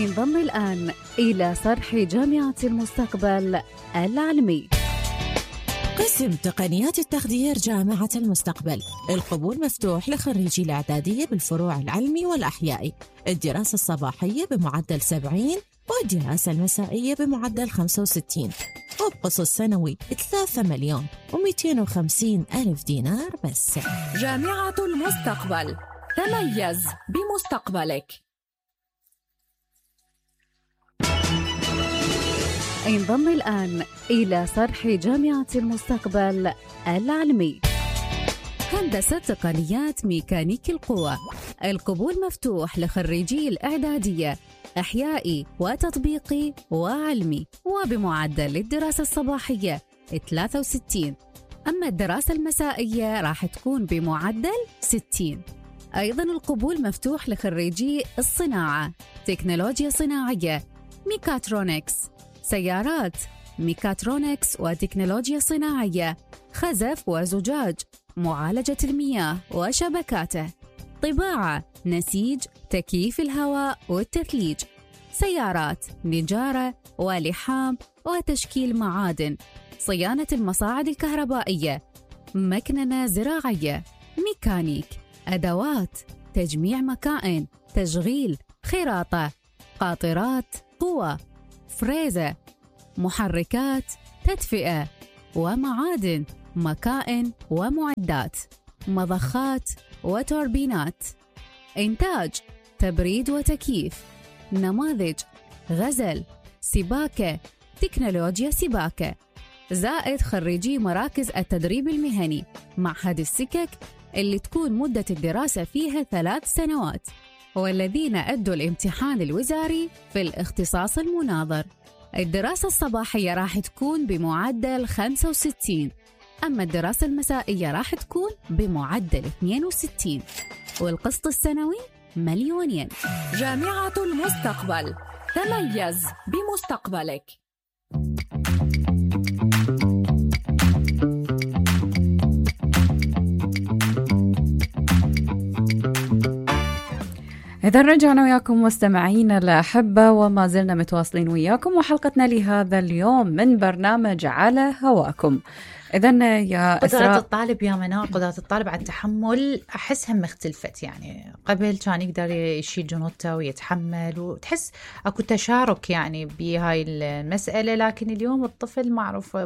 انضم الآن إلى صرح جامعة المستقبل العلمي. قسم تقنيات التخدير جامعة المستقبل. القبول مفتوح لخريجي الإعدادية بالفروع العلمي والأحيائي، الدراسة الصباحية بمعدل 70 والدراسة المسائية بمعدل 65، وبقسط سنوي 3,250,000 دينار بس. جامعة المستقبل، تميز بمستقبلك. انضم الآن إلى صرح جامعة المستقبل العلمي. هندسة تقنيات ميكانيك القوى. القبول مفتوح لخريجي الإعدادية أحيائي وتطبيقي وعلمي، وبمعدل الدراسة الصباحية 63، أما الدراسة المسائية راح تكون بمعدل 60. أيضا القبول مفتوح لخريجي الصناعة، تكنولوجيا صناعية، ميكاترونكس، سيارات، ميكاترونكس وتكنولوجيا صناعية، خزف وزجاج، معالجة المياه وشبكاته، طباعة، نسيج، تكييف الهواء والتثليج، سيارات، نجارة ولحام وتشكيل معادن، صيانة المصاعد الكهربائية، مكننة زراعية، ميكانيك، أدوات، تجميع مكائن، تشغيل، خراطة، قاطرات، قوى، فريزة، محركات، تدفئة ومعادن، مكائن ومعدات، مضخات وتوربينات، إنتاج، تبريد وتكييف، نماذج، غزل، سباكة، تكنولوجيا سباكة، زائد خريجي مراكز التدريب المهني، معهد السكك اللي تكون مدة الدراسة فيها 3 سنوات، والذين أدوا الامتحان الوزاري في الاختصاص المناظر. الدراسة الصباحية راح تكون بمعدل 65، أما الدراسة المسائية راح تكون بمعدل 62، والقسط السنوي 2,000,000. جامعة المستقبل، تميز بمستقبلك. إذا رجعنا وياكم مستمعينا الأحبة، وما زلنا متواصلين وياكم وحلقتنا لهذا اليوم من برنامج على هواكم. إذن يا قدرات الطالب يا منار، قدرات الطالب على التحمل أحسها مختلفت. يعني قبل كان يقدر يشيل جنوته ويتحمل وتحس أكو تشارك يعني بهاي المسألة، لكن اليوم الطفل معروف.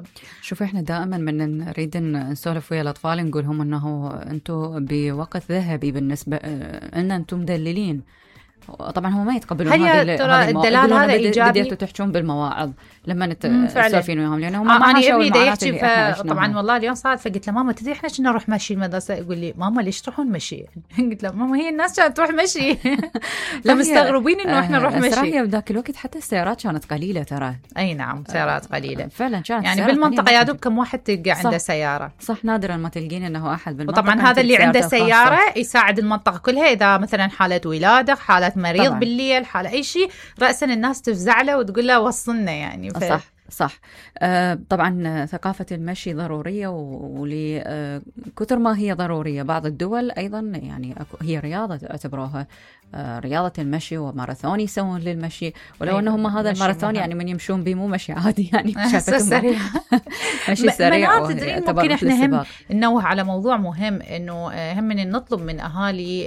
شوف إحنا دائما من نريد نسولف ويا الأطفال نقولهم أنه أنتم بوقت ذهبي بالنسبة أن أنتم مدللين. طبعا هم ما يتقبلون هذه الدلال هذا إيجابي. بديتوا تحجون بالمواعظ لما تسولفين وياهم، لأنه هم ما عاشوا المعاناة اللي احنا عشناها. طبعا والله اليوم صارت، فقلت له ماما تدري احنا كنا نروح مشي المدرسة؟ يقول لي ماما ليش تروحون مشي؟ قلت له ماما هي الناس كانت تروح مشي. لا مستغربين انه احنا نروح مشي. هي بذاك الوقت حتى السيارات كانت قليلة ترى. اي نعم سيارات قليلة فعلا كانت يعني بالمنطقة يا دوب كم واحد تلقى عنده سيارة. صح نادرا ما تلقين انه احد بالمنطقة. وطبعا هذا اللي عنده سيارة يساعد المنطقة كلها، اذا مثلا حالة ولادة، حالة مريض طبعاً. بالليل، حالة اي شيء، رأسا الناس تفزع له وتقول له وصلنا يعني. صح. طبعا ثقافة المشي ضرورية، ولكثر ما هي ضرورية بعض الدول أيضا يعني هي رياضة اعتبروها رياضة المشي، وماراثون يسوون للمشي، ولو أنهم هذا الماراثون يعني من يمشون به مو مشي عادي يعني سريع. مشي سريع. ممكن احنا هم ننوه على موضوع مهم، انه هم من نطلب من اهالي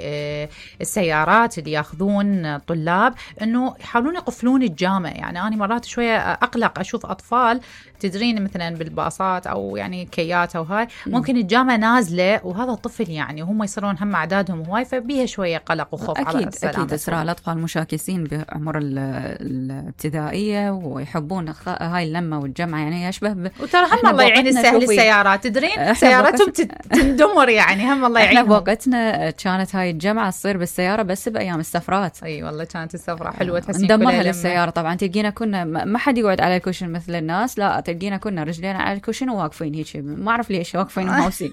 السيارات اللي ياخذون طلاب انه يحاولون يقفلون الجامع. يعني انا مرات شويه اقلق اشوف اطفال تدرين مثلا بالباصات او يعني كيات او هاي، ممكن الجامع نازله وهذا الطفل يعني هم يصيرون هم اعدادهم هواي، فبيها شويه قلق وخوف على السلامه. اكيد اسراء الاطفال مشاكسين بعمر الابتدائيه ويحبون هاي اللمه والجمعه، يعني يشبه وترى هم الله يعين السهل السيارات، تدرين سيارتهم تندمر يعني. هم الله يعينهم. احنا بوقتنا كانت هاي الجمعه تصير بالسياره بس بايام السفرات. اي والله كانت السفره حلوه، تحسين ندمرها للسياره. طبعا تلقينا كنا ما حد يقعد على الكوشن مثل الناس، لا تلقينا كنا رجلينا على الكوشن وواقفين هيك، ما اعرف ليش واقفين وموسين.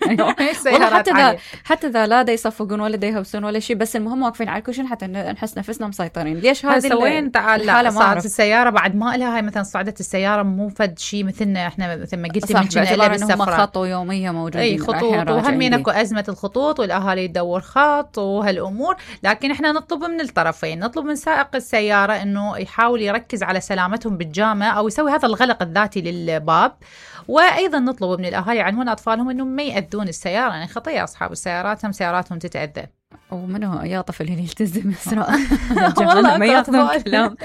والله حتى ذا لا دا يصفقون ولا دا يهوسون ولا شيء، بس المهم واقفين على الكوشن عشان حتى نحس نفسنا مسيطرين. ليش هذه وين تعال صارت السياره بعد ما لها هاي مثلا صعدت السياره مو فد شيء مثلنا احنا مثل ما قلتي من باعتبار انهم خطوا يوميه موجودين اي خطوط وهم اكو ازمه الخطوط والاهالي تدور خط وهالامور. لكن احنا نطلب من الطرفين، نطلب من سائق السياره انه يحاول يركز على سلامتهم بالجامع او يسوي هذا الغلق الذاتي للباب. وايضا نطلب من الاهالي يعلمون اطفالهم انهم ما ياذون السياره، يعني خطيه اصحاب السيارات هم سياراتهم تتاذى. ومنو يا طفل اللي يلتزم اسراء والله ما ياخذون كلام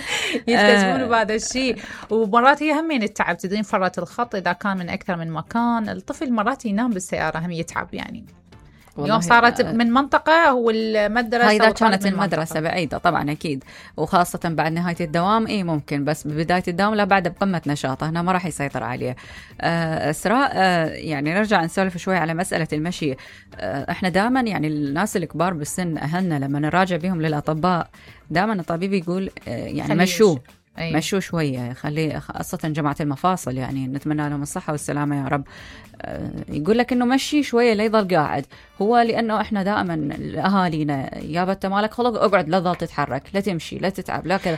يلتزمون بهذا الشيء. ومرات هي همين التعب تدرين فرط الخط اذا كان من اكثر من مكان، الطفل مرات ينام بالسياره هم يتعب يعني. اليوم صارت من منطقة والمدرسة، إذا كانت المدرسة بعيدة طبعا أكيد، وخاصة بعد نهاية الدوام ممكن، بس ببداية الدوام لا، بعد بقمة نشاطه هنا ما راح يسيطر عليه. إسراء يعني نرجع نسولف شوي على مسألة المشي. إحنا دائما يعني الناس الكبار بالسن أهلنا لما نراجع بهم للأطباء دائما الطبيب يقول يعني مشوه مشوا شوية، خليه خاصة جماعة المفاصل يعني نتمنى لهم الصحة والسلامة يا رب. يقول لك إنه مشي شوية لا يضل قاعد، هو لأنه إحنا دائما أهالينا يا بت مالك خلق اقعد لا تظل تتحرك لا تمشي لا تتعب لا كذا.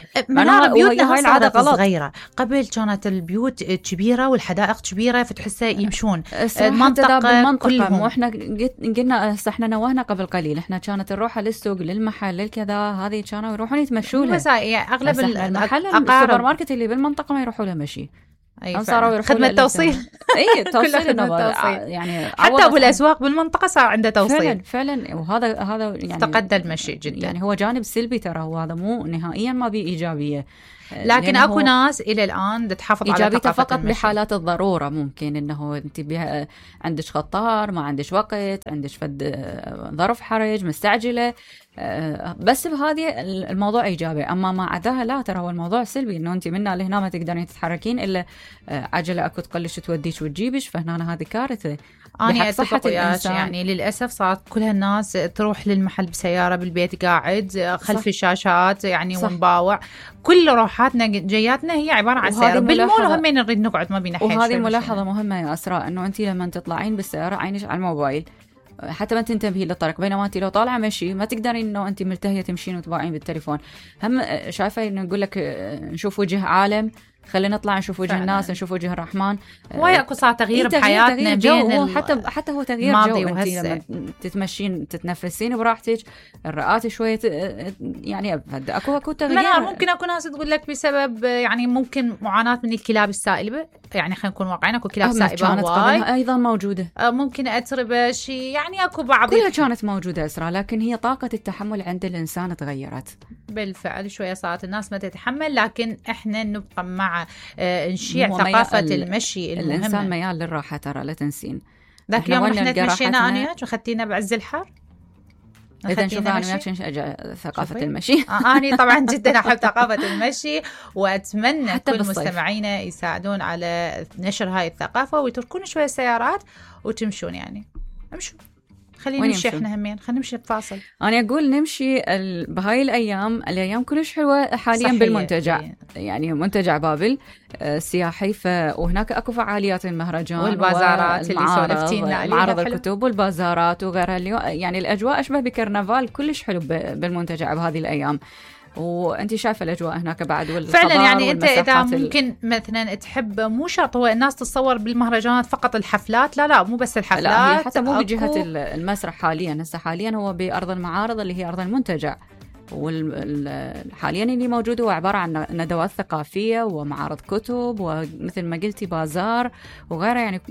بيوتنا هاي العادة غلط. صغيرة قبل كانت البيوت كبيرة والحدائق كبيرة فتحسها يمشون المنطقة كلهم. وإحنا قلنا إحنا نوهنا قبل قليل إحنا كانت نروح للسوق للمحل للكذا هذه كانوا يروحون يتمشوا لها. بس يعني أغلب المحل السوبر ماركت اللي بالمنطقة ما يروحوا له مشي. خدمة توصيل. توصيل يعني حتى أبو الأسواق بالمنطقة صار عنده توصيل فعلا. وهذا يعني افتقد المشي جدا، يعني هو جانب سلبي ترى، وهذا مو نهائيا ما بيه إيجابية. لكن اكو ناس الى الان تحافظ على ثقافة فقط المشي. بحالات الضروره ممكن انه انت عندك خطار ما عندك وقت، عندك فد ظرف حرج مستعجله، بس بهذه الموضوع ايجابي. اما ما عداها لا، ترى هو الموضوع سلبي، انه انت منا لهنا ما تقدرين تتحركين الا عجله اكو تقلش توديش وتجيبش، فهنا هذه كارثه. أنا أتفق وياك، يعني للأسف صارت كل هالناس تروح للمحل بسيارة بالبيت قاعد خلف الشاشات يعني ونباوع. كل روحاتنا جياتنا هي عبارة عن سيارة بالمول، وهمين نريد نقعد ما بينا حيل. وهذه ملاحظة مهمة يا أسراء، أنه أنت لما تطلعين بالسيارة عينش على الموبايل حتى ما تنتبهي للطريق، بينما انت لو طالعه مشي ما تقدرين انه انت ملتهيه تمشين وتباعين بالتليفون. هم شايفه انه نقول لك نشوف وجه عالم، خلينا نطلع نشوف وجه الناس، نشوف وجه الرحمن. ويا اكو صار تغيير بحياتنا بين حتى هو تغيير جو. انت لما تتمشين تتنفسين براحتك، الرئات شويه يعني اكو تغيير. ممكن اكو ناس تقول لك بسبب يعني ممكن معاناه من الكلاب السائبه، يعني خلينا نكون واقعين اكو كلاب سائبه هواي ايضا موجوده، ممكن اتربه شيء، يعني اكو بعض كلها كانت موجوده اسراء، لكن هي طاقه التحمل عند الانسان تغيرت بالفعل. شويه صارت الناس ما تتحمل، لكن احنا نبقى مع نشيع ثقافة المشي المهمة. الإنسان ميال للراحة ترى لا تنسين. ذاك يوم احنا تمشينا أنا وياك وخدتينا بعز الحر. إذا نشوف أنا وياك ثقافة المشي. أنا طبعا جدا أحب ثقافة المشي، وأتمنى كل مستمعينا يساعدون على نشر هاي الثقافة ويتركون شوية السيارات وتمشون، يعني امشوا خلينا نمشي احنا همين، خلينا نمشي بفاصل. انا اقول نمشي بهاي الايام كلش حلوه حاليا بالمنتجع، يعني منتجع بابل سياحي، وهناك اكو فعاليات المهرجان والبازارات اللي سولفتينا عليها، معرض الكتب والبازارات وغيرها. اليوم يعني الاجواء اشبه بكرنفال، كلش حلو بالمنتجع بهذه الايام. وانت شايفه الاجواء هناك بعد فعلا. يعني انت اذا ممكن مثلا تحب، مو شرط هو الناس تتصور بالمهرجانات فقط الحفلات، لا مو بس الحفلات، لا هي حتى مو بجهه المسرح حاليا. هسه حاليا هو بارض المعارض اللي هي ارض المنتجع، حاليا اللي موجود هو عبارة عن ندوات ثقافية ومعارض كتب ومثل ما قلتي بازار وغيره، يعني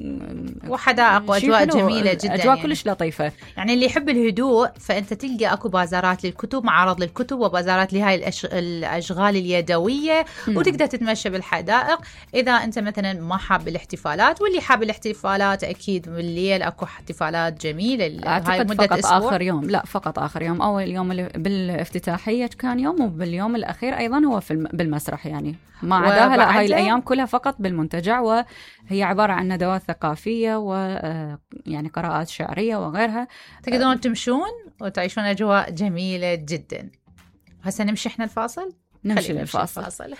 وحدائق وأجواء جميلة جدا، أجواء يعني كلش لطيفة. يعني اللي يحب الهدوء فأنت تلقى أكو بازارات للكتب، معارض للكتب وبازارات لهاي الأشغال اليدوية، وتقدر تتمشى بالحدائق. إذا أنت مثلا ما حاب الاحتفالات، واللي حاب الاحتفالات أكيد بالليل أكو احتفالات جميلة. هاي مدة فقط أسبوع. آخر يوم لا فقط آخر يوم، أول يوم بالافتتاح كان يوم، وباليوم الأخير أيضا هو بالمسرح، يعني ما عداها لا، هاي الأيام كلها فقط بالمنتجع، وهي عبارة عن ندوات ثقافية ويعني قراءات شعرية وغيرها. تقدرون تمشون وتعيشون أجواء جميلة جدا. هسه نمشي إحنا الفاصل، نمشي للفاصل.